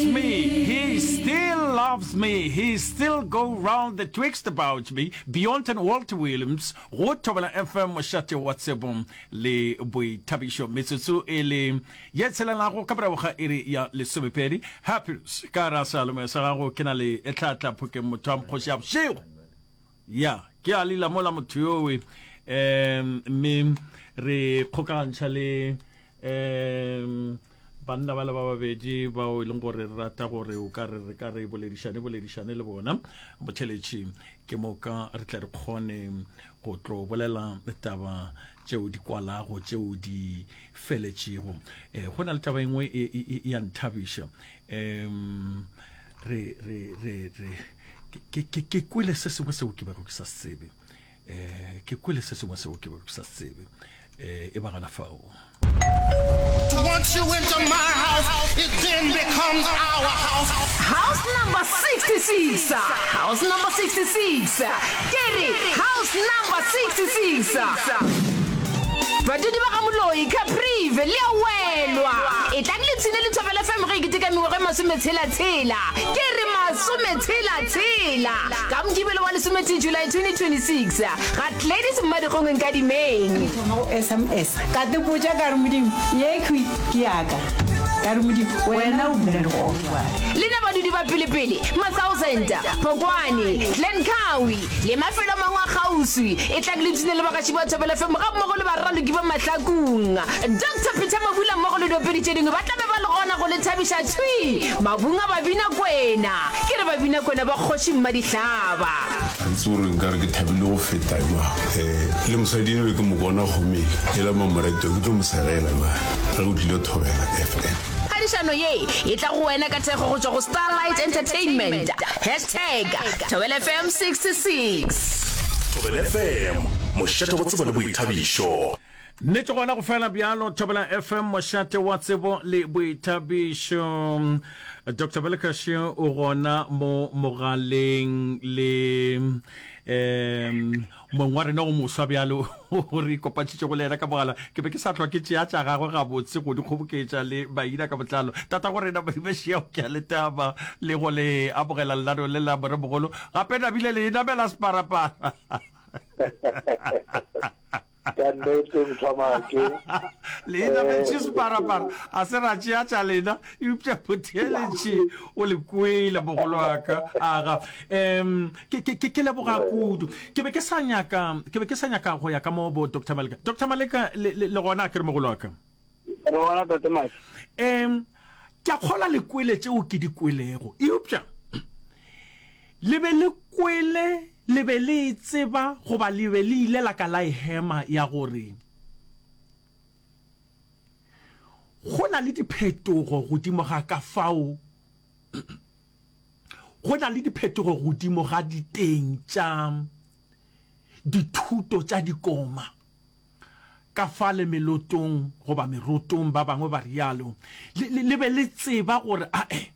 loves me, he still loves me, he still go round the twixt about me, Beyond and Walter Williams, go Thobela FM mošate wa tsebo le boithabišo. Metsotso e le ye tshelelago ka morago ga iri ya lesomepedi. Happiness, ka ra sealemoya sa gago ke na le Tlhatla Phokeng motho wa mokgoši ya bošego. Ya, ke a lila mola motho yowe. Um mme re kgokagantšha le um banna bale ba babedi bao e leng gore re rata gore o ka re re ka re boledišane boledišane le bona botheletši ke moka re tle re kgone go tlo bolela taba tšeo di kwalago tšeo di feletšego um go na le taba e nngwe e, e, e, ya nthabiša um re re re re ke ke ke kwele se sengwe seo ke bego ke sa se tsebe Eh, ke kwele se sengwe seo ke bego ke sa se tsebe. Eh, e ba gana fao. Once you enter my house, it then becomes our house. House number 66, house number 66, ke re house number 66. Badudi ba ga Moloi, Caprive, le a welwa. Etlang le ipshine le Thobela FM ge e keteka mengwaga e masometshela-tshela. Ke re masometshela-tshela! Ka Mokibelo wa lesometee July 2026, ga Gladys Mmadikgong Nkadimeng. Thoma go sms ka te botša ka re Modimo yekhwi ke ya ka ka re Modimo wena o dula legodimong. Lena badudi ba pelepele, Mathousand, Phokwane, Glencoe le mafelo a mangwe a kgauswi, etlang le ipshine le bagaši ba Thobela FM gammogo le baraloki ba Mahlakung. Doctor Peter Mabula mmogo le diopedi tše dingwe ba tla be ba le gona go le thabiša thwi mabung a Babinakwena. Ke re Babinakwena ba kgoši Mmadihlaba. Ga ke tsebe gore nkare ke thabile go feta jwang. Um le mosadi eno ke mo bona kgomeng e la mamoreto ke tlo mo segela jwale ge o tlile Thobela FM. Phadišano ye e tla go wena ka thekgo go tšwa go Starlight Entertainment. Hashtag Thobela FM 66. Thobela FM, mošate wa tsebo le boithabišo. Nnete gona go fela bjalo, Thobela FM, mošate wa tsebo le boithabišo. Doctor Belekashe o gona mo mogaleng le um mong wa rena o moswa bjalo o re ikopantšhitšego le yena ka mogala. Ke be ke sa hlwa ke tšea tša gagwe gabotse go di kgoboketša le maina ka botlalo. Tata go rena Modimo ke a le taba le go le amogela lenaneo le la moremogolo. Gape nabile le namela separapara. Ka nnete Mthwamake. Le inametše separapara, a se ra tšea tša lena, eupša motheeletši o le kwele, mogolo wa ka. Aga. Um, ke, ke, ke, ke leboga kudu. Ke be ke sa nyaka, ke be ke sa nyaka go ya ka mo bo Doctor Maleka. Doctor Maleka, le, le, le gona a ke re mogolo wa ka? Re gona, Tate Mike. Um, ke a kgolwa le kwele tšeo ke di kwelego, eupša le be le kwele, le be le e tseba, goba le be le ile la ka la e hema ya gore go na le diphetogo godimo ga ka fao, go na le diphetogo godimo ga diteng tša dithuto tša dikoma. Ka fale melotong goba merotong, ba bangwe ba realo, le, le, le be le tseba gore ae,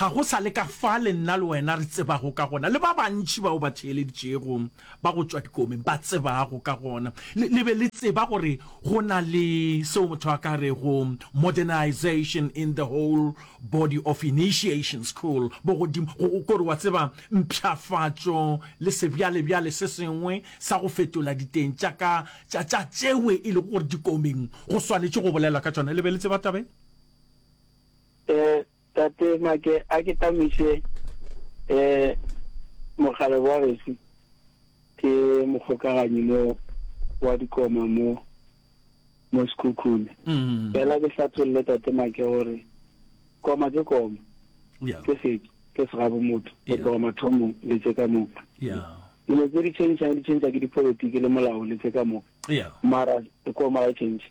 ga go sa le ka fale nna le wena re tsebago ka gona, le ba bantši bao ba theeleditšego ba go tšwa dikomeng ba tsebago ka gona. Le, le be le tseba gore go na le seo motho a ka rego modernization in the whole body of initiation school, bogodimo, go, go, kore wa tseba, mpshafatšo le sebjalebjale se sengwe sa go fetola diteng tša ka tša, tša tšewe e lego gore dikomeng go swanetše go bolelwa ka tšona. Le be le tseba taba ye? Eh, Tate Make, a ke tamiše eh mokgalabje wa gesu, ke mokgokaganyi mo wa dikoma mo mo Sekhukhune. Fela ke hlatholle Tate Make gore koma ke koma, ke setšo, ke segabo motho go tloga mathomong le tše ka moka. Dilo tse di tšhentšhang di tšhentšha ke dipolotiki le molao le tše ka moka. Mara koma ga e tšhentšhe.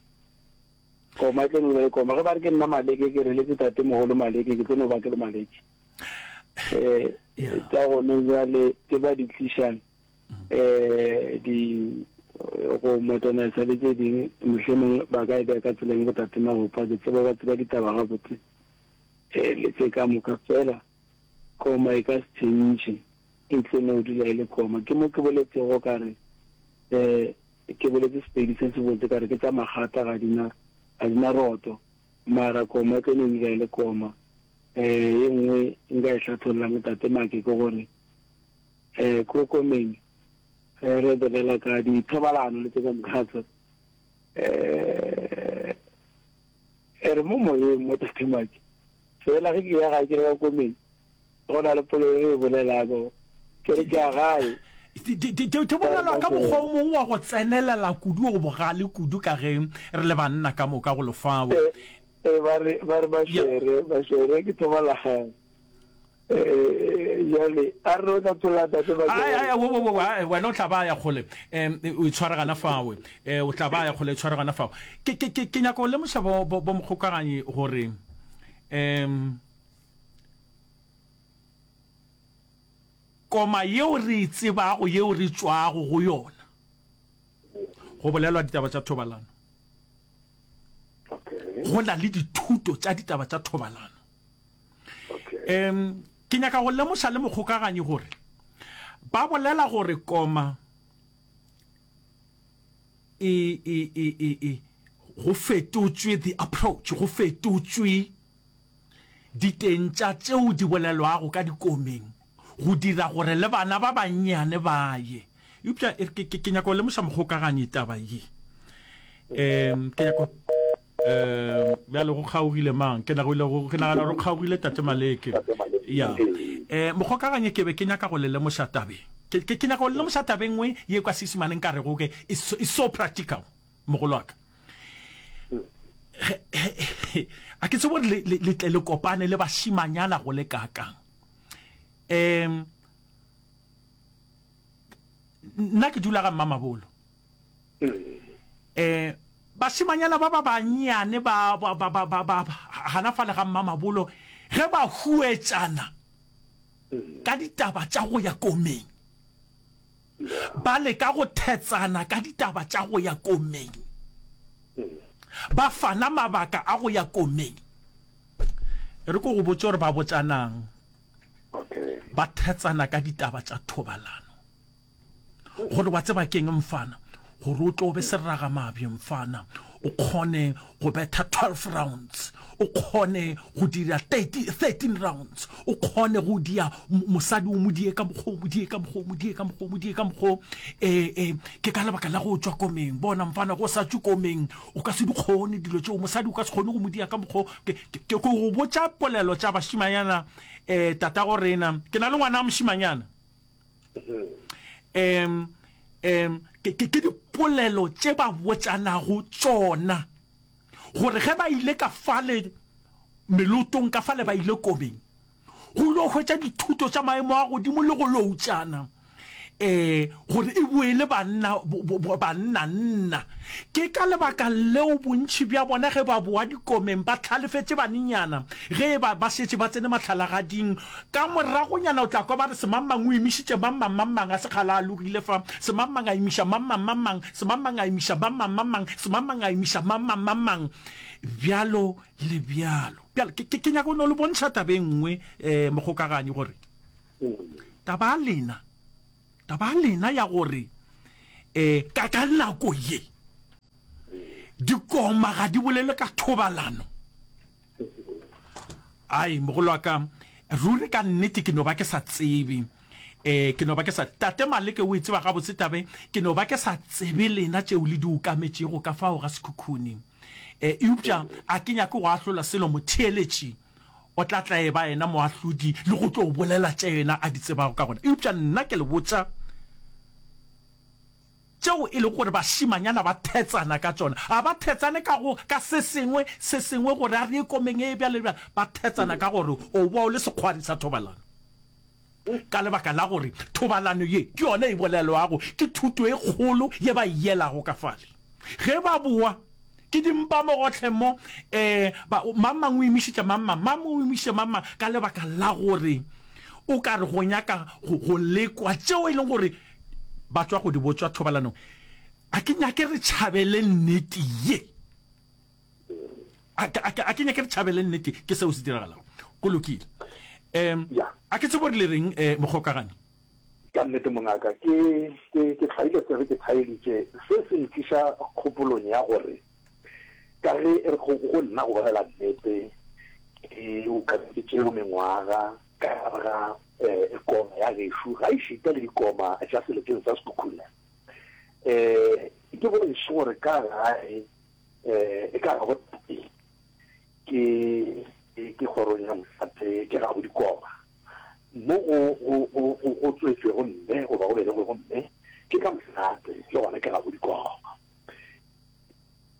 Koma e tlo no ba e koma. Ge ba re ke nna Maleke ke re letse tate mogolo Maleke ke tlo no ba ke le Maleke. Eh tsa gone jwale tse ba di tlišang eh di go modernisa le tse ding mohlomong ba ka e beya ka tseleng bo tate Magopa ke tseba ba tseba ditaba gabotse eh le tse ka moka fela koma e ka se tšhentšhe e tlo no dula e le koma ke mo ke boletsego ka re um ke boletse Sepedi se se botse ka re ke tša magata ga di na ga di na roto mara koma e tlo no dula e le koma. Eh, ye nngwe nka e hlathollang Tate Make ke gore eh ko komeng ge re bolela ka dithobalano le tse ka moka tse eh e re mo moyeng mo Tate Make fela ge ke ya gae ke re ka komeng go na le polelo e bolelago ke re ke ya gae Di bolelwa ka mokgwa o mongwe wa go tsenelela kudu o bogale kudu ka ge re le banna ka moka go lefao. Ee, ba re, ba re bašere, bašere ke thobalagane. Ee, jale a re o tla thola tate ba Ai, ai, wo, wo, wo, ai, wena o tla ba ya kgole um o itshware gana fawe um o tla ba ya kgole itshware gana fawe ke ke ke ke nyaka go lemoša bo bo bo mokgokaganyi gore um koma yeo re e tsebago yeo re tšwago go yona go bolelwa ditaba tša thobalano Go na le dithuto tša ditaba tša thobalano. Um ke nyaka go lemoša le mokgokaganyi gore ba bolela gore koma e, e, e, e, e, go fetotšwe the approach, go fetotšwe diteng tša tšeo di bolelwago ka dikomeng go dira gore le bana ba bannyane ba ye. Eupša e re, ke, ke, ke nyaka go lemoša mokgokaganyi taba ye. Um, ke nyaka um bjale go kgaogile mang? Ke nagile go, ke nagana gore go kgaogile Tate Maleke. Ya. Um, mokgokaganyi ke be ke nyaka go le lemoša tabeng. Ke, ke, ke nyaka go le lemoša tabeng nngwe ye kwa Seisemaneng nka rego ke, it's so, it's so practical, mogolo wa ka. A ke tsebe gore le, le, le tle le kopane le bašimanyana go le kaakang. Um, nna ke dula ga Mmamabolo. Um, bašimanyana ba ba bannyane ba, ba, ba, ba, ba, ba, gana fale ga Mmamabolo, ge ba huetšana ka ditaba tša go ya komeng, ba leka go thetsana ka ditaba tša go ya komeng, ba fana mabaka a go ya komeng. E re ko go botše gore ba botšanang. Ba thetsana ka ditaba tša thobalano. Gore wa tseba ke'ng mfana? Gore o tlo be seragamabje mfana, o kgone go betha 12 rounds, o kgone go dira 30, 13 rounds, o kgone go dia mosadi o mo die ka mokgwa o mo die ka mokgwa o mo die ka mokgwa o mo die ka mokgwa o. E, e, ke ka lebaka la go tšwa komeng. Bona mfana, go sa tšwe komeng, o ka se di kgone dilo tšeo. Mosadi o ka se kgone go mo dia ka mokgwa o. Ke, ke, ke go botša polelo tša bašimanyana, eh, tatago rena. Ke na le ngwana wa mošimanyana. Um, um, ke, ke, ke dipolelo tše ba botšanago tšona, gore ge ba ile ka fale melotong, ka fale ba ile komeng, go lo hwetša dithuto tša maemo a godimo le go loutšana, um gore e boe le banna, banna nna. Ke ka lebaka leo bontši bja bona ge ba boa dikomeng ba hlalefetše banenyana ge e ba ba šetše ba tsene mahlalagading. Ka moragonyana o tla kwa ba re semangmang o imišitše mangmang, mangmang a se kgale a alogile fa, semangmang a imiša mangmang, mangmang, semangmang a imiša mangmang, mangmang, semangmang a imiša mangmang, mangmang, bjalo le bjalo. Bjale ke, ke, ke nyaka go no le bontšha taba e nngwe, um mokgokaganyi, gore taba ya lena, Taba ya lena ya gore um ka ka nako ye dikoma ga di bolele ka thobalano. Ai, mogolo wa ka, ruri ka nnete ke no ba ke sa tsebe. Um ke no ba ke sa, Tate Maleke o e tseba gabotse taba e, ke no ba ke sa tsebe lena tšeo le di ukametšego ka fao ga Sekhukhune. Um eupša a ke nyake go ahlola selo motheeletši. O tla tla e ba yena moahlodi le go tlo bolela tše yena a di tsebago ka gona. Eupša nna ke le botša tšeo e lego gore bašimanyana ba thetsana ka tšona. Ga ba thetsane ka go, ka se sengwe, se sengwe gore a re ye komeng e bjalo le bjalo. Ba thetsana ka gore o boa o le sekgwari sa thobalano. Ka lebaka la gore thobalano ye ke yona e bolelwago, ke thuto e kgolo ye ba e yelago ka fale. Ge ba boa, ke dimpa mo gohle mo, eh, ba, mang mang o imišitše mang mang, mang o imišitše mang mang, ka lebaka la gore o ka re go nyaka go, go lekwa tšeo e leng gore ba tšwa go di botšwa thobalanong. A ke nyake re tšhabele nnete ye. A, a, a ke nyake re tšhabele nnete, ke seo se diragalago. Go lokile. Um, a ke tsebe gore le reng, eh, mokgokagani. Ka nnete mongaka, ke, ke, ke hlwaile tsebe ke thaeditše. Se se ntliša kgopolong ya gore ka ge re, go, go nna go bolela nnete, ke o. moka ke tšeo mengwaga ka gare ga um koma ya gešo, ga ešita le dikoma tša seleteng sa Sekhukhune. Um ke bontšhe gore ka gae um e ka ga botate ke ke kgorong ya mošate ke ga bodikoma mo go go go go go tswetšwego mme goba go belegwego mme ke ka mošate le gona ke ga bodikoma.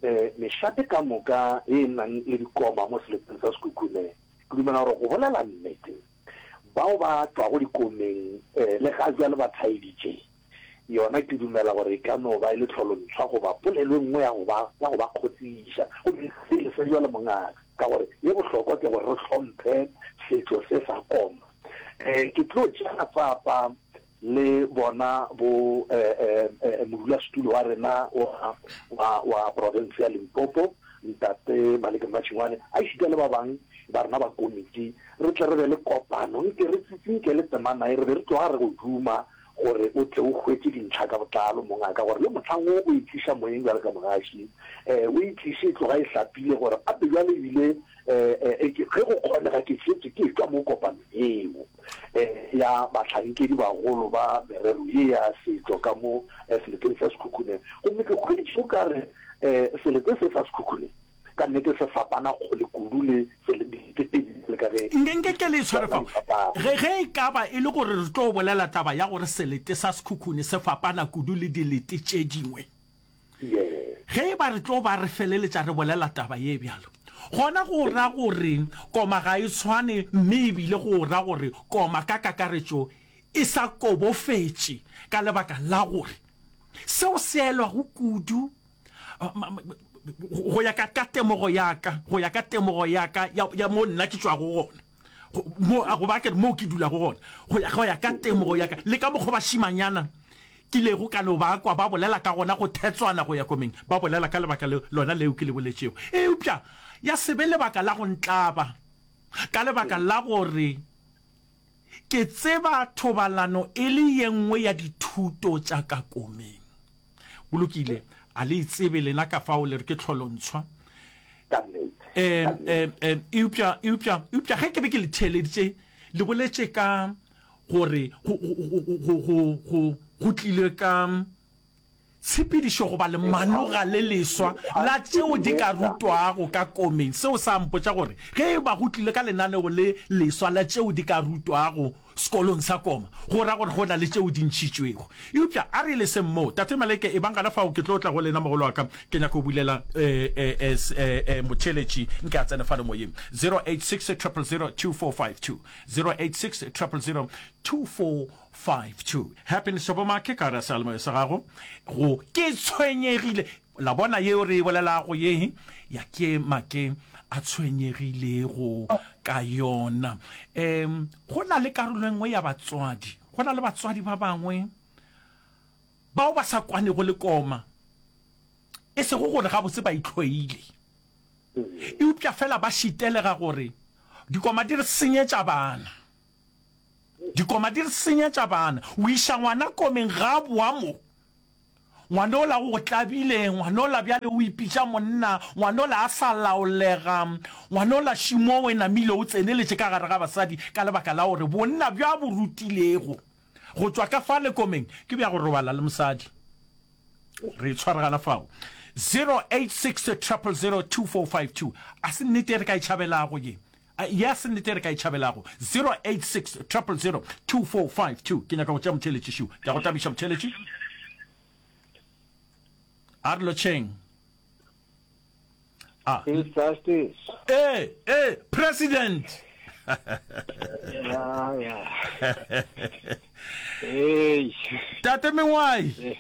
Um mešate ka moka ye e nang le dikoma mo seleteng sa Sekhukhune ke dumela gore go bolela nnete bao ba tšwago dikomeng um le ga bjale ba thaeditše Yona ke dumela gore e ka no ba e le tlholontshwa goba polelo e nngwe ya go ba, ya go ba kgotsiša. Gomme se le se bjalo, mongaka, ka gore ye bohlokwa ke gore re hlomphe setšo se sa koma. Um ke tlo tšea matsapa le bona bo um um modulasetulo wa rena wa, wa, wa profense ya Limpopo, Ntate Maleke Mmatšhingwane, a ešita le ba bang ba rena ba komiti, re tle re be le kopano, nke re tsitsinkele temana ye, re be re tloga re go duma gore o tle o hwetše dintlha ka botlalo, mongaka, gore le mohlang wo o e tliša moyeng bjalo ka mogaši, um o e tliše e tloga e hlapile, gore gape bjale ebile um ge go kgonega ke šetše ke etšwa mo kopanong yeo um ya bahlankedi bagolo ba merero ye ya setšo ka mo seleteng sa Sekhukhune. Gomme ke hweditše o ka re um selete se sa Sekhukhune Ka nnete se fapana kgole kudu le ditetedi bjalo ka ge Nke nke ke le tshware di fao. fapana. Ge, ge e ka ba e le gore re tlo bolela taba ya gore selete sa Sekhukhune se fapana kudu le dilete tše dingwe, Yes. ge e ba re tlo ba re feleletša re bolela taba ye bjalo, gona go ra gore koma ga e tshwane mme e bile go ra gore koma ka kakaretšo e sa kobofetše ka lebaka la gore seo se elwago kudu go ya ka ka temogo ya ka, go ya ka temogo ya ka ya, ya mo nna ke tšwago gona, go, mo, goba ke re mo ke dulago gona, go ya, go ya ka temogo ya ka, le ka mokgwa bašimanyana kilego ka no ba kwa ba bolela ka gona go thetswana go ya komeng, ba bolela ka lebaka le lona leo ke le boletšego. Eupša ya se be lebaka la go ntlaba, ka lebaka la gore ke tseba thobalano e le ye nngwe ya dithuto tša ka komeng. Go lokile, a le e tsebe lena ka fao le re ke tlholontshwa. Ka nnete. Um, Ka nnete. um, um, eupša, eupša, eupša ge ke be ke le theeleditše, le boletše ka gore go, go, go, go, go, go, go tlile ka tshepedišo goba lemanoga le leswa la tšeo di ka rutwago ka komeng. Seo sa mpotša gore ge e ba go tlile ka lenaneo le leswa la tšeo di ka rutwago sekolong sa koma, go ra gore go na le tšeo di ntšhitšwego. Eupša a re leseng moo. Tate Maleke, ebang gona fao, ke tlo tla go lena, mogolo wa ka. Ke nyaka go bulela motheeletši nke a tsene fale moyeng. 086 000 2452, 086 000 2452. Happiness Shobomake, ka gare ga seyalemoya sa gago, go Ke Tshwenyegile. La bona yeo re e bolelago ye ya ke make a tshwenyegilego ka yona. Um go na le karolo e nngwe ya batswadi, go na le batswadi ba bangwe bao ba sa kwanego le koma, e sego gore gabotse ba itlhoile, eupša fela ba šitelega gore dikoma di re senyetša bana. Dikoma di re senyetša bana. O iša ngwana komeng ga a boa mo. Ngwanola o go tlabile, ngwanola bjale o ipitša monna, ngwanola a sa laolega, ngwanola šimo o e namile o tseneletše ka gare ga basadi ka lebaka la gore bonna bjo a bo rutilego go tšwa ka fale komeng ke bja go robala le mosadi. Re itshware gana fao. 086 000 2452 A se nnete e re ka e tšhabelago ye? Ye a se nnete e re ka e tšhabelago? 086 000 2452 Ke nyaka go tšea motheeletši šiu. Ke a go tabiša motheeletši. A re lotšheng. A. Chief Justice. Ee, ee, President. Ya, ya. Hey. Tate Mengwai.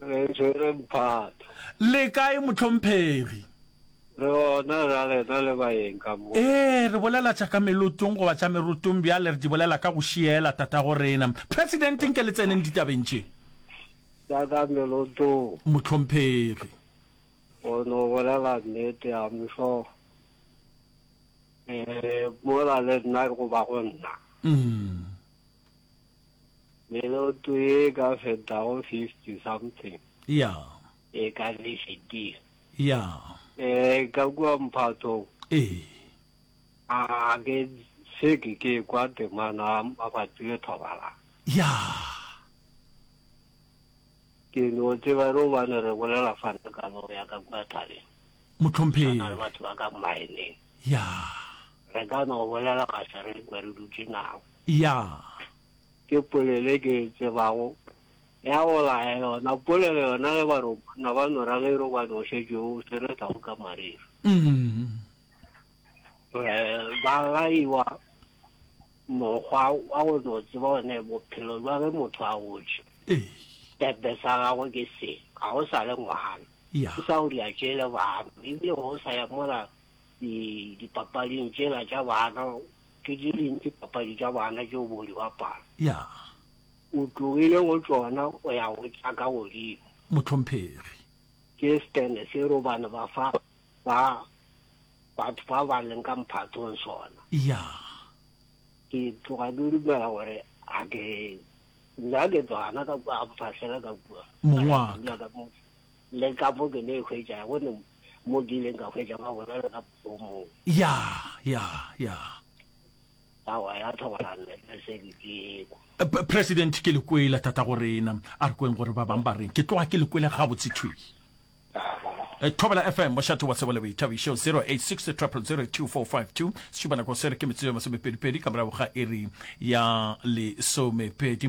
Re tshwere mphato. Le kae mohlomphegi? Re gona ra lena le baeng ka mo. Ee, re bolela tša ka melotong goba tša merotong bjale re di bolela ka go šiela tatago rena. President nke le tseneng ditabeng tše. Tša ka melotong. Mohlomphegi. O no bolela nnete, I'm sure. Eh, mola le nna goba go nna. Mm. Meloto ye e ka fetago 50 something. Ya. E ka be fetile. Ya. Eh, ka kua mphathong. Ee. A ke se ke ke kwa temana mabapi le thobalano. Ya. Ke no tseba re gobane re bolela fana ka no ya ka kua thabeng. Mohlomphegi. Tshwana le batho ba ka mmaeneng. Ya. Re ka no bolela ga se re kwe re dutše nabo. Ya. Ke polelo e ke e tsebago ya go laya yona. Polelo yona ge ba re monna ba no ra ge e re gobane o šetše o swere tau ka mariri. Mm. Eh, ba laiwa mokgwa wa go no tseba gone bophelo jwa ge motho a gotše. Ee. Tepe sa gagwe ke se, ga o sa le ngwana. Ya. O sa o dia tšele bana, ebile ga o sa ya mola dipapading tšela tša bana, ke di ding dipapadi tša bana tšeo bo di bapala. Ya. O tlogile go tšona o ya go tša ka godimo. Mohlomphegi. Ke stene se robane ba fa ba batho ba ba leng ka mphatong sona. Ya. Ke tloga ke dumela gore a ke nna ke tswana ka kua a mfahlela ka kua. Mong wa ka. Le ka mo ke ne e hwetša go ne mo ke ileng ka hwetša ba bolela ka o mongwe. Ya, ya, ya. Aowa ya thobalano le se ke ke kwa. President ke le kwele tatago rena. A re kweng gore ba bang ba reng. Ke tloga ke le kwele gabotse thwi. Eh, Thobela FM, mošate wa tsebo le boithabišo, 086 000 2452. Sešupanako se re ke metsotso ye masomepedipedi ka morago ga iri ya lesomepedi.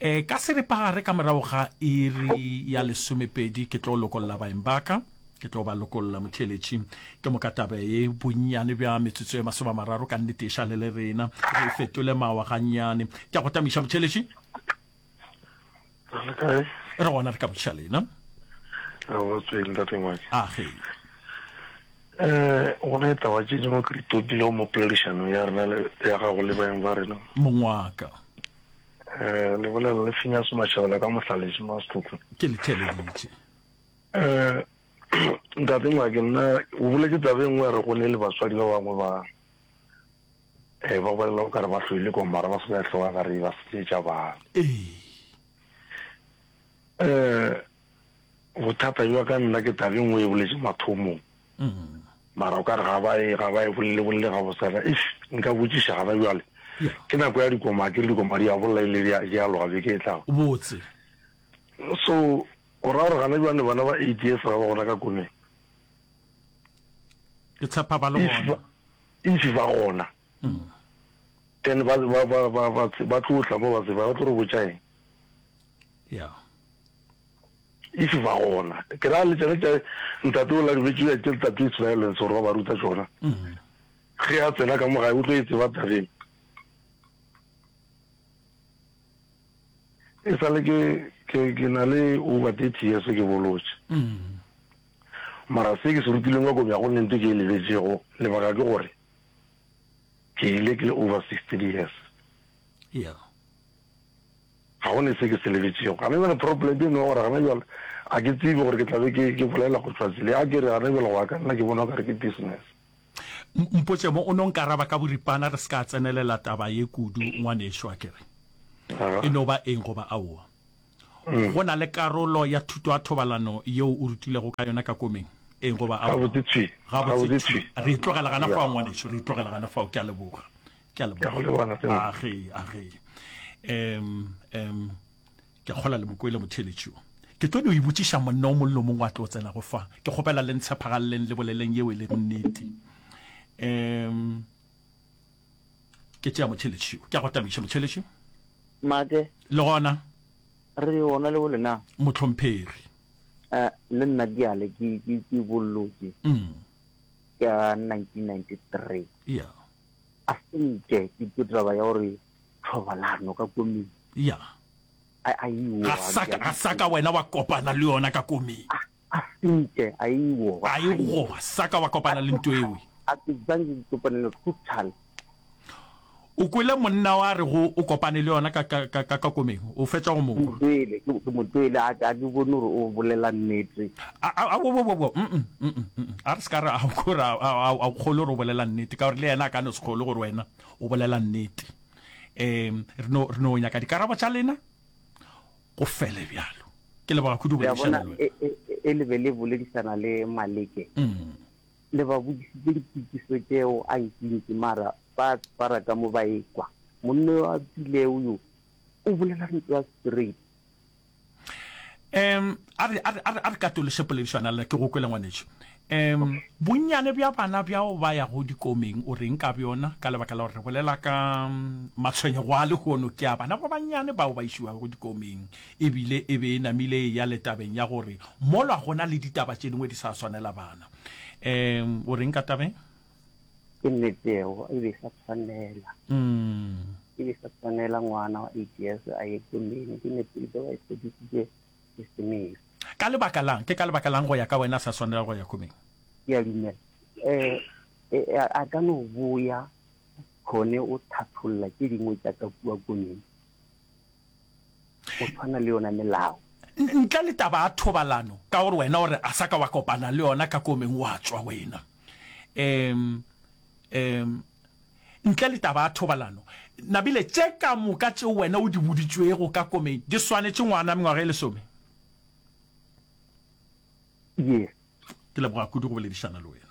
Eh, ka seripagare ka morago ga iri ya lesomepedi ke tlo lokolla baeng ba ka. Ke tlo ba lokolla motheeletši. Ke moka taba ye bonnyane bja metsotso ye masomamararo ka nnete e šale le rena. Re e fetole mawa gannyane. Ke a go tamiša motheeletši. Re le kae? Re gona re ka botšiša lena. Re go tsweng ntate Ngwake. A ge. Eh, go ne taba tše dingwe ke di topilego mo poledišanong ya rena le ya gago le baeng ba rena. Mongwaka. Eh, le bolela le Phineas Mashabela ka Mohlaletse Masetlhotlho. Ke le theeleditše. Eh, ntate Ngwake nna o boletše taba e nngwe ya re go ne le batswadi ba bangwe ba eh ba bolela o kare ba hloile ko mara ba se ba hloka gare ba senyetša bana. Ee. Eh bothata bja ka nna ke taba e nngwe e boletše mathomong. Mm. Mara o kare ga ba e ga ba e bolele bolele ga bosana. If nka botšiša gana bjale. Ke nako ya dikoma ke re dikoma di a bolla ile di a di a loga beke e tlago. Botse. So o ra gore gana bjale bana ba 8 years ga ba gona ka komeng. Ke tshepa ba le gona. If ba gona then ba ba ba ba ba ba tlo tla mo ba tseba ba tlo re botša eng. Yeah. If ba gona ke ra le tsena tša ntate o la dibetše ya tše tate is violence gore ba ba ruta tšona. Ge a tsena ka mo gae o tlo e tseba tabeng. E sa le ke ke ke na le over 30 years ke bolotše. Mara se ke se rutileng kwa Kobja go nne nto ke e lebetšego, lebaka ke gore ke ile ke le over 16 years. Yeah. Ga go ne se ke se lebetšego. Gana bjale problem e no gore gana bjale a ke tsebe gore ke tla be ke ke bolela go tšwa tsele. A ke re gana bjale go ya ka nna ke bona o ka re ke business. Mpotše mo o no nkaraba ka boripana re se ka tsenelela taba ye kudu ngwanešo a ke re. E no ba eng goba aowa. Go na le karolo ya thuto ya thobalano yeo o rutilego ka yona ka komeng? Eng goba aowa? Gabotse thwi. Gabotse thwi. Re e tlogela gana fao, ngwanešu. Re e tlogela gana fao. Ke a leboga. Ke a leboga. Age, age. Um, um, ke a kgola le mokwele motheeletši wo. Ke tlo no e botšiša monna o mongwe le o mongwe a tlo tsenago fa. Ke kgopela le ntshephagaleleng le boleleng yeo e lego nnete. Um, Ke tšea motheeletši wo. Ke a go tamiša motheeletši. Make. Le gona. Re gona le bole na? Mohlomphegi. Eh, le nna bjale ke, ke, ke bollotše. Mm. Ka 1993. Yeah. A senke ke ke taba ya gore thobalano ka koming. Yeah. A, a iwo. Ga sa ka, ga sa ka wena wa kopana le yona ka koming. A, A senke, a iwo. A iwo, ga sa ka wa kopana le nto ewe. A ke zange ke kopane le total. O kwele monna wa re go o kopane le yona ka ka ka ka komeng, o fetša go mo kwa. Ke mo kwele, ke mo kwele, a a ke bone gore o bolela nnete. A a a wo wo wo wo, mm mm mm, a re se ka re a o a a a o kgolwe gore o bolela nnete, ka gore le yena a ka no se kgolwe gore wena o bolela nnete. Um re no re no nyaka dikarabo tša lena, go fele bjalo. Ke leboga kudu go Le a boledišana bona, le wena. e e e le be le boledišana le Maleke. Mm. Le ba botšišitše dipotšišo tšeo a ntšintši mara ba tshwara ka mo ba ekwa. Monna yo a tšwilego yo o bolela ntwa straight. Um, a re, a re, a re, a re katološe poledišwana le ke go kwele ngwanetšo. Um, bonnyane bja bana bjao ba yago dikomeng o reng ka bjona? Ka lebaka la gore re bolela ka mm, matshwenyego a lehono ke a bana ba bannyane bao ba išiwago dikomeng, ebile e be e namile e ya le tabeng ya gore molwa gona le ditaba tše dingwe di sa swanela bana. Um, o reng ka tabeng? Ke nnete eo, e be e sa tshwanela. Mm. E be e sa tshwanela ngwana wa eight years a ye komeng. Ke nnete e be ba e fedisitše ke semelo. Ka lebaka lang? Ke ka lebaka lang go ya ka wena a sa swanela go ya komeng? Ke a dumela. Eh, eh, a ka no boya kgone o thatholla tše dingwe tša ka kua komeng. Go tshwana le yona melao. Ntle le taba ya thobalano, ka gore wena o re a sa ka wa kopana le yona ka komeng wa tšwa wena. Um, um, ntle le taba ya thobalano, nabile tše ka moka tšeo wena o di boditšwego ka komeng di swanetše ngwana mengwaga e lesome? Yes. Ke leboga kudu go boledišana le wena.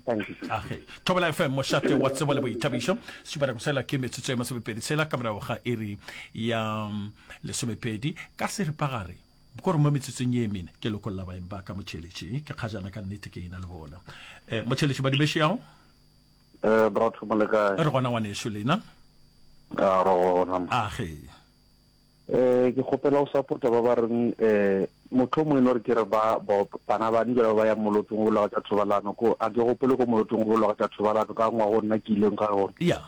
Thank you. Age. Thobela FM mošate wa tsebo le boithabišo. Šupana go ke metsotso e masomepedi tshela ka morago ga iri ya mm, lesomepedi ka seripagare. Ko re mo metsotsong ye mene ke lokolla baeng ba ka motšheletši ke kgajana ka nnete ke ena le bona. Eh, motšheletši badumešo yago? Eh, bratho mo le kae? Re gona ngwanešu lena. A re gona. Age. Eh, ke kgopela go support-a ba ba reng eh mohlomongwe e no re ke re ba bana ba njela ba ba yang molotong go bolelwa ka tša thobalano ko a ke gopole ko molotong go bolelwa ka tša thobalano ka ngwaga o nna ke ileng ga gona. Yeah.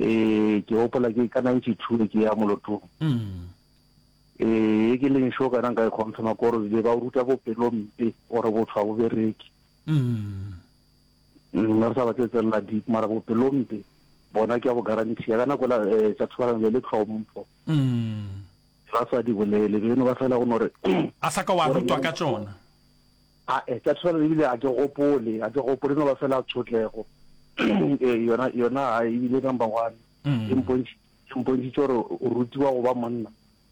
Eh, ke gopola ke ka 92 ke ya molotong. Mm. Eh, e ke leng sure kana nka e confirma ko gore be ba o ruta bopelompe gore botho ga bo bereke. Mm. Nna re sa batle tsenela deep mara bopelompe bona ke a bo guarantee ka nako la eh, tša thobalano be le tlhompho. Mm. Ba sa di bolele beno ba fela go no re A sa ka wa rutwa ka tšona. A eh tša thobalano ebile a ke gopole, a ke gopole no ba fela tshotlego. Eh yona yona ha ebile number one. Mm. E mpontši e mpontšitše gore o rutiwa go ba monna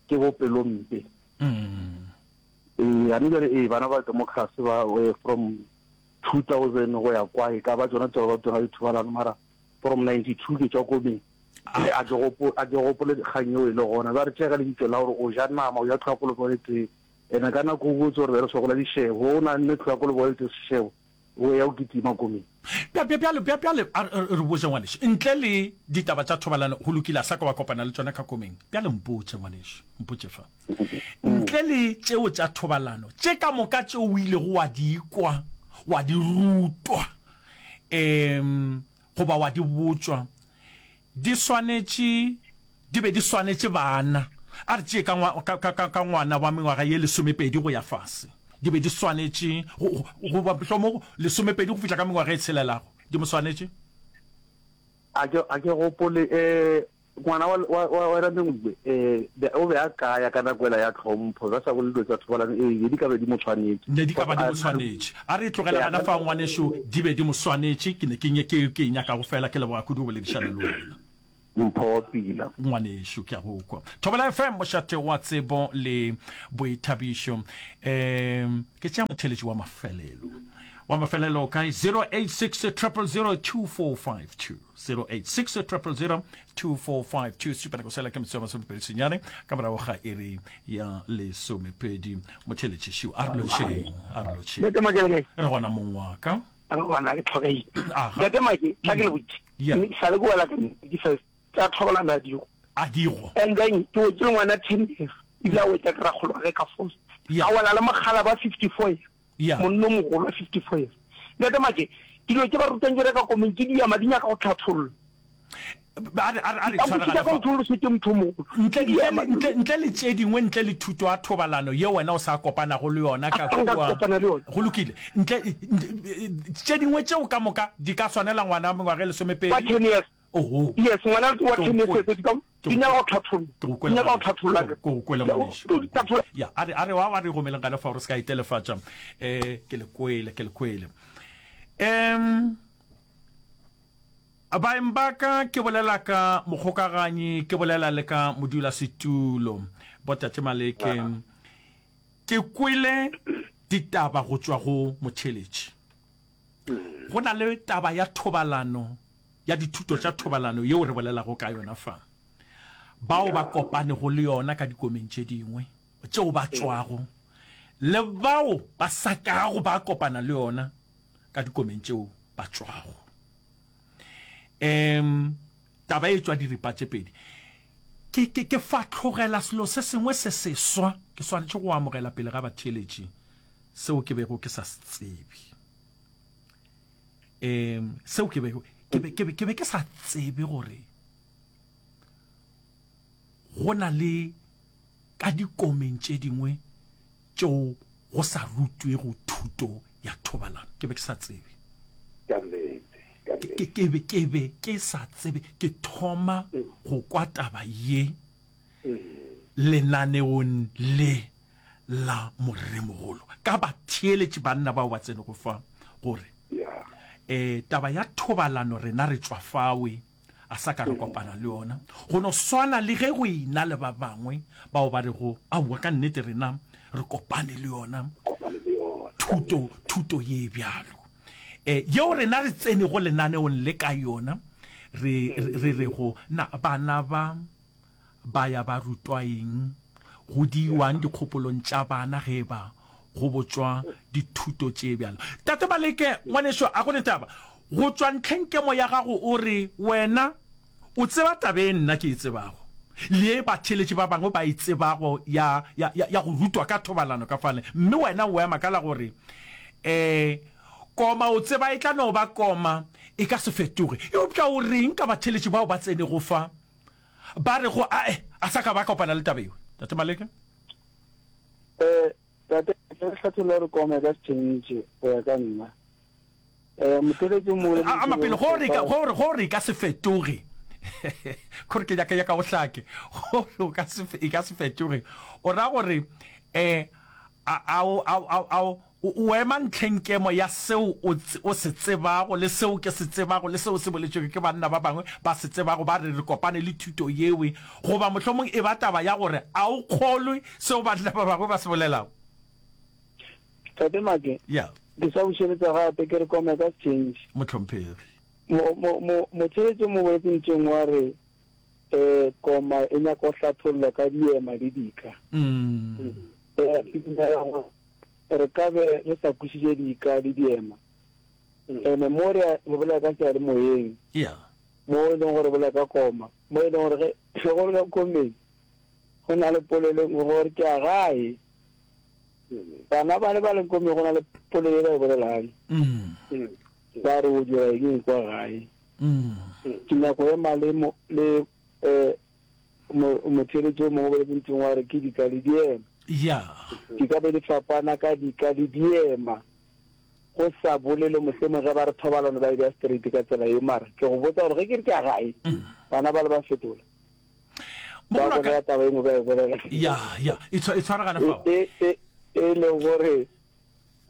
ke bopelompe. Mm. Eh ane jale eh bana ba democracy ba eh, from 2000 go ya kwa e ka ba tsona tsa ba tsona dithobalano mara from 92 ke tswa komeng a ke gopo a ke gopole dikgang eo e le gona ba re tšega lebitso la gore o ja nama o ja tlhwa kolobo le tee ene ka nako o botse gore be re sokola dišebo o na nne tlhwa kolobo le tee sešebo o ya o kitima komeng Bjale, bjale, a re botše ngwanešu, ntle le ditaba tša thobalano, go lokile, a sa ka wa kopana le tšona ka komeng. Bjale mpotše, ngwanešu, mpotše fa. Ntle le tšeo tša thobalano, tše ka moka tšeo o ilego wa di kwa, wa di rutwa, um goba wa di botšwa, di swanetše, di be di swanetše bana, a re tšee ka, ka, ka, ka, ka ngwana wa mengwaga ye lesomepedi go ya fase, di be di swanetše, goba mohlomong lesomepedi go fihla ka mengwaga e tshelelago, di mo swanetše? A ke, a ke gopole, um Ngwana wa, wa, wa, wa Ramengwe, eh, be, o be a kaya ka nako ela ya tlhompho, ba sa bolele dilo tsa thobalano, ee, be di ka be di mo tshwanetše. Ne di ka ba di mo tshwanetše. A re e tlogele gona fao, ngwanešu, di be di mo swanetše. Ke ne ke, ke, ke e nyakago feela. Ke leboga kudu go boledišana le wena. Mpho wa pila. Ngwanešu, ke a go kwa. Thobela FM, mošate wa tsebo le boithabišo. Um, ke tšea motheeletši wa mafelelo. Wa mafelelo o kae? 086 000 2452. 086 000 2452 supa nako sela ke metsotso ya masomepedi senyane ka morago ga iri ya lesomepedi motheletši šiu a re lotšheng a re lotšheng Ntate Make le kae? re gona mong wa ka Re gona ke tlhogeile. Aga. Ntate Make, tla ke le botše. Yeah. Mme sa le ke wela ka di first tsa thobalano a digo. A digo. And then ke wetse le ngwana 10 years. Ebile a wetsa ke rakgolo wa ge ka force. Yeah. A wela le mogala ba 54 years. Yeah. Monna o mogolo wa 54 years. Ntate Make, dilo tše ba rutang tšona ka komeng ke diama di nyaka go tlhathollwa. A re, a re, a re Ka tshwaragane botšiša ka fa. motho o losetse motho o mogolo. Ntle, Ke ntle le, diama ntle, ntle le tše dingwe, ntle le thuto ya thobalano ye wena o sa kopanago le yona ka A nka kua. kopana le yona. Go lokile. Ntle, ntle, tše dingwe tšeo ka moka di ka swanela ngwana wa mengwaga e lesomepedi. Wa 10 years. Oho. Yes, ngwana wa Ke 10 go years kwele. di ka Ke di go nyaka go kwele. tlhathollwa. Ke go Di kwele nyaka go ngwanešu. tlhathollwa. Ke go kwele ngwanešu. Ke go tlhatholla. Ya, a re, a re wa wa re romeleng gana fa gore se ka itelefatša. Eh, ke le kwele, ke le kwele. Em Baeng ba ka, ke bolela ka mokgokaganyi, ke bolela le ka modulasetulo, Botate Maleke. Ke kwele ditaba go tšwa go motheeletši. Go na le taba ya thobalano, ya dithuto tša thobalano yeo re bolelago ka yona fa. Bao ba kopanego le yona ka dikomeng tše dingwe tšeo ba tšwago, le bao ba sa kago ba kopana le yona ka dikomeng tšeo ba tšwago. Um, taba e tšwa diripa tše pedi. Ke, ke, ke fahlogela selo se sengwe se seswa, ke swanetše go amogela pele ga batheeletši seo ke bego ke sa se tsebe. Um, seo ke bego, ke be, ke be, ke be ke sa tsebe gore go na le ka dikomeng tše dingwe tšeo go sa rutwego thuto ya thobalano. Ke be ke sa tsebe. Ka nnete, ka nnete. Ke, ke be, ke be ke sa tsebe. Ke thoma go kwa taba ye lenaneong le la Moremogolo ka batheeletši banna bao ba tsenego fa, gore, eh, taba ya thobalano rena re tšwa fawe. a sa ka re kopana le yona. Go no swana le ge go e na le ba bangwe bao ba rego, Aowa, ka nnete rena re kopane le yona thuto, thuto ye bjalo. E, yeo rena re tsenego lenaneong le ka yona, re, re rego, Na bana ba ba ya ba rutwa eng? Go diiwang dikgopolong tša bana ge e ba go botšwa dithuto tše bjalo? Tate Maleke, ngwanešo, a go ne taba. Go tšwa ntlheng kemo ya gago o re wena o tseba taba e nna ke e tsebago, le ye batheeletši ba bangwe ba e tsebago ya, ya, ya, ya go rutwa ka thobalano ka fale, mme wena o ema ka la gore, E, koma o tseba e tla no ba koma, e ka se fetoge. Eupša o reng ka batheeletši bao ba tsenego fa? Ba re go ae, a sa ka ba kopana le taba yeo. Tate Maleka? Eh, tate, ke re hlatholla gore koma e ka se change go ya ka nna. Eh, motheletši o mongwe le A ama pele, go re ka, go re, go re e ka se fetoge. Gore ke nyaka, nyaka o hlake. Gore o ka se, e ka se fetoge. O ra gore, eh, a, a, a, a, a, O ema ntlheng kemo ya seo o, o se tsebago, le seo ke se tsebago, le seo se boletšwego ke banna ba bangwe ba se tsebago, ba re re kopane le thuto yewe, goba mohlomong e ba taba ya gore a o kgolwe seo banna ba bangwe ba se bolelago. Tate Make, Ya. ke sa bušeletša gape ke re kome ka change. Mohlomphegi. Mo, mo, mo, motheeletši o mo boletše ntšeng wa re, eh, koma e nyaka go hlathollwa ka diema le dika. Mm. Eh, ke dumela gore Re ka be re sa kwešiše dika le diema. Ene mo re re bolela ka seyalemoyeng, mo e leng gore re bolela ka koma, mo e leng gore ge ge go le ka komeng go na le polelo e nngwe gore ke a gae. Bana ba le ba leng komeng go na le polelo e ba e bolelang. Ba re o dira eng kwa gae. Ke nyako ema le le eh Motheeletši yo mongwe o boletse nthong wa re ke dika le diema. Ya. Di ka be di fapana ka dika le diema. Go sa bolele mohlomong ge ba re thobalano ba e bea straight ka tsela ye mara ke go botsa gore ge ke re ke a gae bana ba le ba fetola. Ba bolela taba e nngwe ba e bolela. Ya, ya, e tshwaragana fao. E, e, e leng gore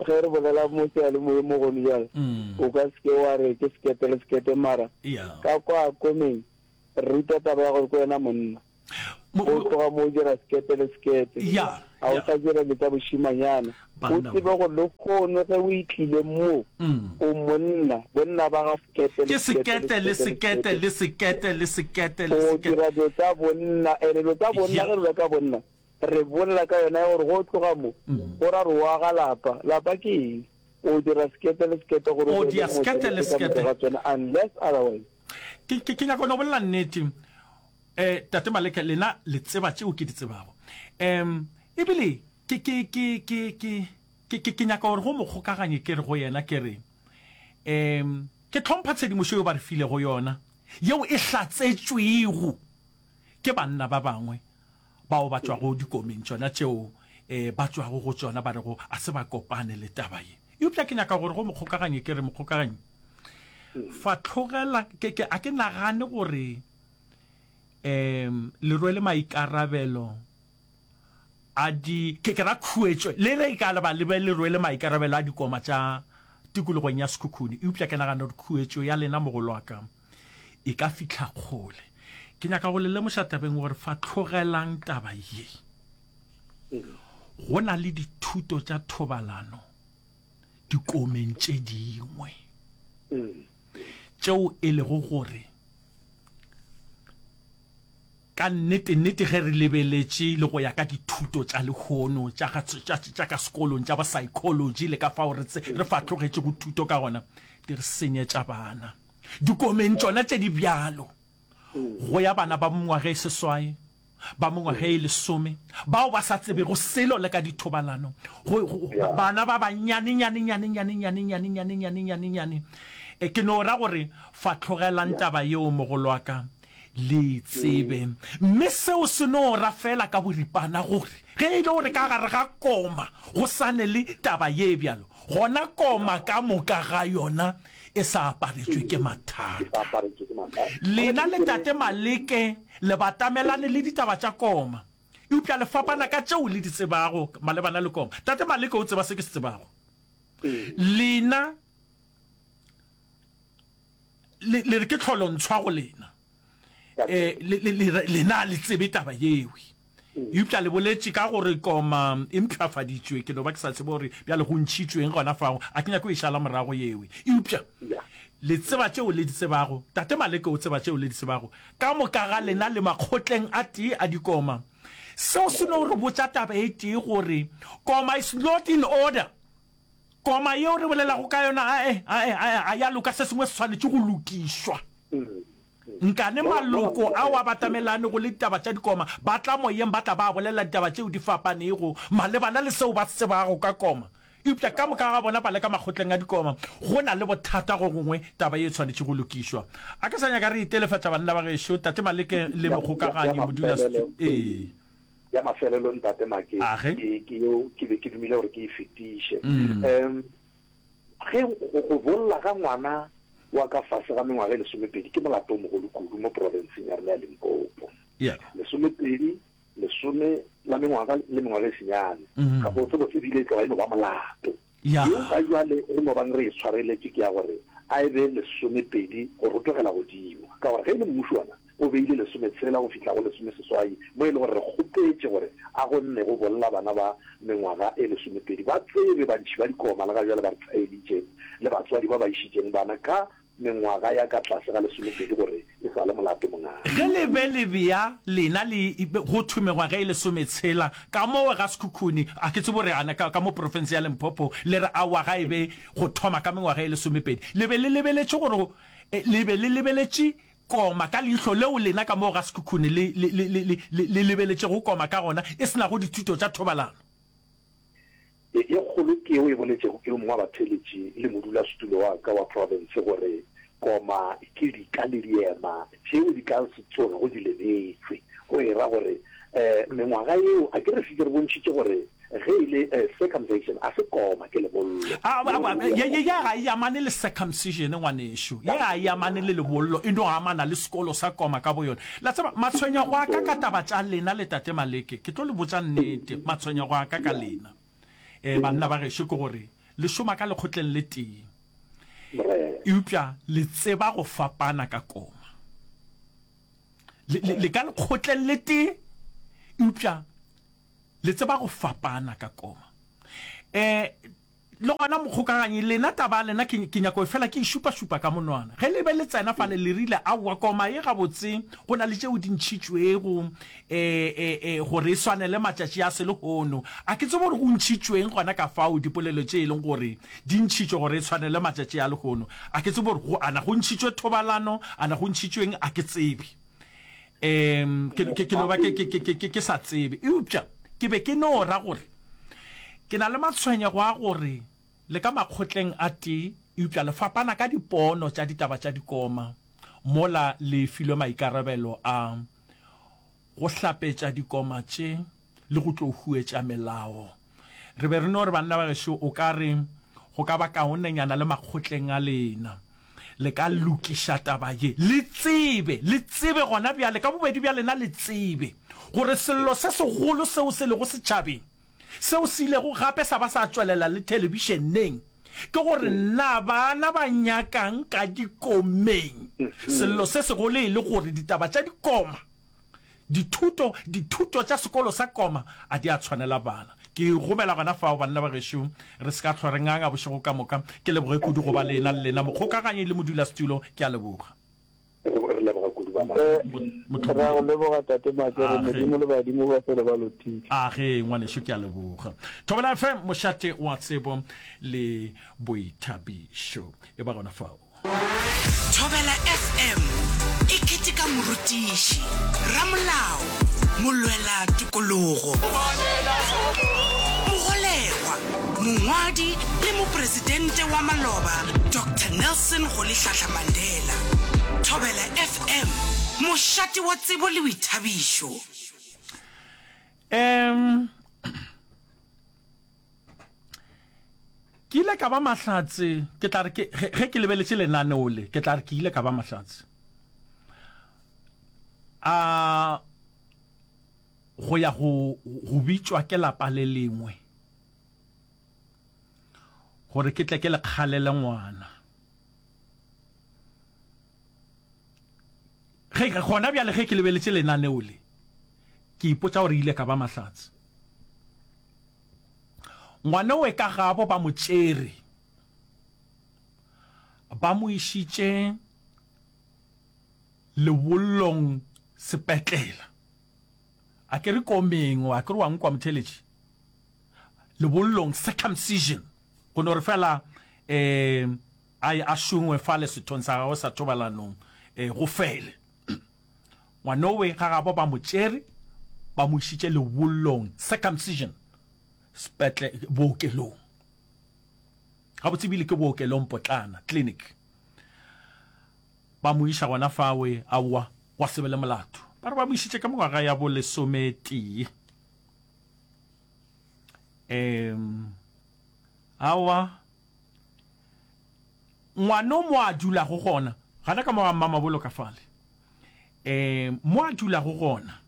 ge re bolela mo seyalemoyeng mo gone bjale, o ka se ke wa re ke sekete le sekete mara ka kwa komeng Re ruta taba ya gore ke wena monna. O tloga mo o dira sekete le sekete. Ga o sa dira dilo tša bošimanyana. O tsebe gore lehono ge o itlile mo, o monna. Bonna ba ga sekete le sekete le sekete le sekete le sekete le sekete. O dira dilo tša bonna. Ene dilo tša bonna ge re bua ka bonna, re bolela ka yona ya gore ge o tloga mo, go ra gore o aga lapa. Lapa ke eng? O dira sekete le sekete gore o be le motho ka moka ga tsona unless otherwise. Ke, ke, ke nyaka go no bolela nnete. Eh, Tate Maleke, lena le tseba tšeo ke di tsebago. Um, ebile ke, ke, ke, ke, ke, ke, ke, ke nyaka gore go mokgokaganye ke re go yena ke re, um, ke hlompha tshedimošo yeo ba re filego yona, yeo e hlatsetšwego ke banna ba bangwe bao ba tšwago dikomeng tšona tšeo eh, ba tšwago go tšona, ba rego a se ba kopane le taba ye. Eupša ke nyaka gore go mokgokaganye ke re, mokgokaganyi, fahlogela, ke, ke, a ke nagane gore um le rwele maikarabelo a di, ke, ke ra khuetšo, le ge e ka ba le be le rwele maikarabelo a dikoma tša tikologong ya Sekhukhune, eupša ke nagana gore khuetšo ya lena mogolwaka e ka fihla kgole. Ke nyaka go le lemoša tabeng gore fahlogelang taba ye. Go na le dithuto tša thobalano dikomeng tše dingwe. Tšeo e lego gore ka nnete-nnete ge re lebeletše le go ya ka dithuto tša lehono tša, tša, tša ka sekolong tša bo-psychology le ka fao re, re fahlogetšego thuto ka gona, di re senyetša bana. Dikomeng tšona tše di bjalo, go ya bana ba mengwaga e seswai, ba mengwaga e lesome, bao ba sa tsebego selo le ka dithobalano, go, go, bana ba bannyane, nyane, nyane, nyane, nyane, nyane, nyane, nyane, nyane, nyane. E, ke no ra gore fahlogelang taba yeo, mogolo wa ka, le e tsebe. Mme seo se no ra feela ka boripana gore ge e le gore ka gare ga koma go sa ne le taba ye bjalo, gona koma ka moka ga yona e sa aparetšwe ke mathata. Lena le Tate Maleke le batamelane le ditaba tša koma, eupša le fapana ka tšeo le di tsebago malebana le koma. Tate Maleke o tseba se ke se tsebago. Lena le, le re ke tlholontshwa go lena. Eh, le, le, le, lena le tsebe taba yewe. Eupša le boletše ka gore koma e mpshafaditšwe, ke no ba ke sa tsebe gore bjale go ntšhitšweng gona fao, a ke nyake go e šala morago yewe. Eupša le tseba tšeo le di tsebago, Tate Maleke o tseba tšeo le di tsebago, ka moka ga lena le makgotleng a tee a dikoma. Seo se no re botša taba e tee gore koma is not in order. Koma yeo re bolelago ka yona ae, ae, ae, a ya loka, se sengwe se swanetše go lokišwa. Nkane maloko ao a batamelanego le ditaba tša dikoma ba tla moyeng ba tla ba bolela ditaba tšeo di fapanego malebana le seo ba se tsebago ka koma. Eupša ka moka ga bona ba le ka makgotleng a dikoma. Go na le bothata go gongwe, taba ye e swanetše go lokišwa. A ke sa nyaka re itelefatša banna ba gešo, Tate Maleke le Mogokaganyi Modulasetu. Ee. Ya mafelelo, Ntate Make, ke, ke yeo ke be ke dumile gore ke e fetiše. Um, Ge go, go bolla ga ngwana wa ka fase ga mengwaga e lesomepedi ke molato o mogolo kudu mo profenseng ya rena ya Limpopo. Yeah. Lesomepedi, lesome la mengwaga le mengwaga e senyane. Mm. Gabotse botse ebile e tloga e no ba molato. Yeah. Yeo ga jwale re no bang re e tshwareletše ke ya gore a e be lesomepedi go rotogela godimo. Ka gore ge e le mmušo wona o beile lesometshela go fihla go lesomeseswai, mo e le gore re kgopetše gore a go nne go bolla bana ba mengwaga e lesomepedi ba tsebe bantšhi ba dikoma le ga bjale ba re thaeditše le batswadi ba ba išitšeng bana ka mengwaga ya ka tlase ga lesomepedi gore e sa le molato mongaka. Ge le be le bea lena le go thwe mengwaga e lesometshela ka mowe ga Sekhukhune, a ke tsebe gore ana ka, ka mo profense ya Limpopo le re aowa ga e be go thoma ka mengwaga e lesomepedi. Le be le lebeletše gore, le be le lebeletše Koma ka leihlo leo lena ka moo ga Sekhukhune le, le, le, le, le, le, le lebeletšego koma ka gona, e se nago dithuto tša thobalano. E, e kgolo ke yeo e boletšego ke yo mongwe wa batheeletši le modulasetulo wa ka wa profense gore koma ke dika le diema tšeo di ka se tsogego di lebetšwe. Go e ra gore um mengwaga yeo, a ke re šetše re bontšhitše gore Ge e le circumcision, a se koma, ke lebollo. A, a, a, ye, ye, ye ga e amane le circumcision, ngwanešu. Ye ga e amane le lebollo, e no amana le sekolo sa koma ka boyona. La tseba, matshwenyego a ka ka taba tša lena le Tate Maleke, ke tlo le botša nnete, matshwenyego a ka ka lena, eh, banna ba gešo, ke gore le šoma ka lekgotleng le tee, eupša le tseba go fapana ka koma. Le, le, le ka lekgotleng le tee, eupša Le tseba go fapana ka koma. E, le gona mokgokaganyi, lena taba ya lena ke, ke nyako e fela ke e šupašupa ka monwana. Ge le be le tsena fale le rile, Aowa, koma ye gabotse, go na le tšeo di ntšhitšwego, e, e, e, gore e swanele matšatši a selehono. A ke tsebe gore go ntšhitšweng gona ka fao, dipolelo tše e leng gore di ntšhitšwe gore e swanele matšatši a lehono. A ke tsebe gore go, ana go ntšhitšwe thobalano, ana go ntšhitšweng, a ke tsebe. Um ke, ke, ke no ba ke, ke, ke, ke, ke sa tsebe. Eupša ke be ke no ra gore ke na le matshwenyego a gore le ka makgotleng a tee, eupša le fapana ka dipono tša ditaba tša dikoma mola le filwe maikarabelo a go hlapetša dikoma tše le go tlo huetša melao. Re be re no re banna ba gešo o ka re go ka ba kaonenyana le makgotleng a lena le ka lokiša taba ye. Le tsebe, le tsebe gona bjale, ka bobedi bja lena le tsebe gore sello se segolo seo se lego setšhabeng, seo se ilego gape sa ba sa tšwelela le thelebišeneng, ke gore na bana ba nyakang ka dikomeng. Sello se segolo e le gore ditaba tša dikoma Dithuto, dithuto tša sekolo sa koma a di a tshwanela bana. Ke gomela gona fao, banna ba gešo, re se ka hlwa re nganga bošego ka moka. Ke leboge kudu go ba lena le lena, mokgokaganyi le modulasetulo. Ke a leboga. Re leboga kudu bana. Re a go leboga Tate Makere, Modimo le badimo ba fele ba lotile. A ge, ngwanešu, ke a leboga. Thobela FM, mošate wa tsebo le boithabišo. E ba gona fao. Thobela FM e keteka morutiši, ramolao, molwela tokologo, mogolegwa, mongwadi le mopresidente wa maloba Doctor Nelson Rolihlahla Mandela. Thobela FM, mošate wa tsebo le boithabišo. Um Ke ile ka ba mahlatse, ke tla re ke, ge, ge ke lebeletše lenaneo le, ke tla re ke ile ka ba mahlatse. A go ya go, go bitšwa ke lapa le lengwe, gore ke tle ke le kgalele ngwana. Ge, gona bjale ge ke lebeletše lenaneo le, ke ipotša gore ile ka ba mahlatse. Ngwanowe ka gabo ba mo tšere, ba mo išitše lebollong sepetlela. A ke re komeng, a ke re wa nkwa motheeletši? Lebollong, circumcision, go no re fela um a ye a šongwe fale sethong sa gagwe sa thobalanong um go fele. Ngwanowe ga gabo ba mo tšere, ba mo išitše lebollong, circumcision, sepetle, bookelong. Gabotse ebile ke bookelong potlana, clinic. Ba mo iša gona fawe, aowa, gwa se be le molato. Ba re ba mo išitše ka mengwaga ya bo lesometee. Um, aowa, ngwano mo a dulago gona, gana ka mo ga Mmamabolo ka fale, um mo a dulago gona,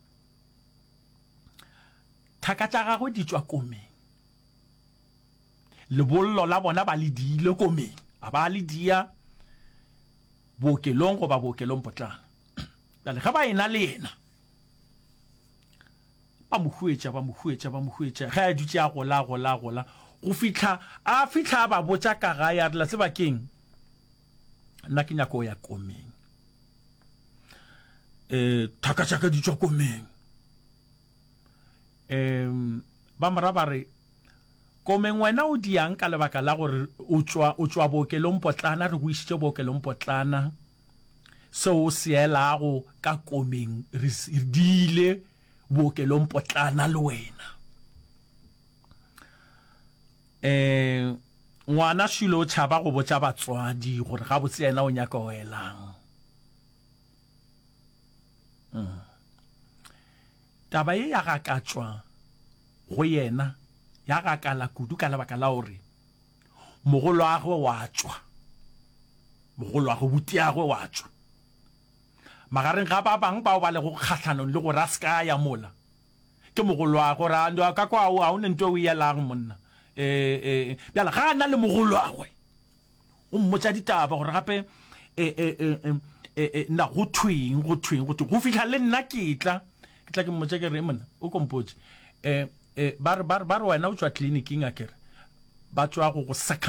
thaka tša gagwe di tšwa komeng. Lebollo la bona ba le diile komeng, a ba le dia bookelong goba bookelong potlana. Bjale ge ba ena le yena, ba mo huetša, ba mo huetša, ba mo huetša, ge a dutše a gola, a gola, a gola, go fihla a fihla a ba botša ka gae, a re, La tseba ke'ng? Nna ke nyaka go ya komeng. Um thaka tša ka di tšwa komeng. Um ba mo ra ba re, Komeng wena o diang ka lebaka la gore o tšwa, o tšwa bookelong potlana, re go išitše bookelong potlana, seo o se elago ka komeng re se diile bookelong potlana le wena. Um ngwana šule o tšhaba go botša batswadi gore gabotse yena o nyaka go elang. Mm. Taba ye ya gakatšwa go yena, ya gakala kudu ka lebaka la gore mogolwagwe wa tšwa, mogolwagwe, butiagwe wa tšwa. Magareng ga ba bangwe bao ba lego kgahlanong le gore a se ka a ya mola, ke mogolwagwe, gore a ka kwa ga o ne nto e o e yelago monna. E, e, bjale ga a na le mogolwagwe, o mmotša ditaba gore gape e, e, e, e, e, e, na go thweng, go thweng, go thweng, go fihla le nna ke tla, ke tla ke mmotša ke re, monna, o ko mpotše, e, e, ba re, ba re, ba re wena o tšwa tleliniking akere, ba tšwa go go.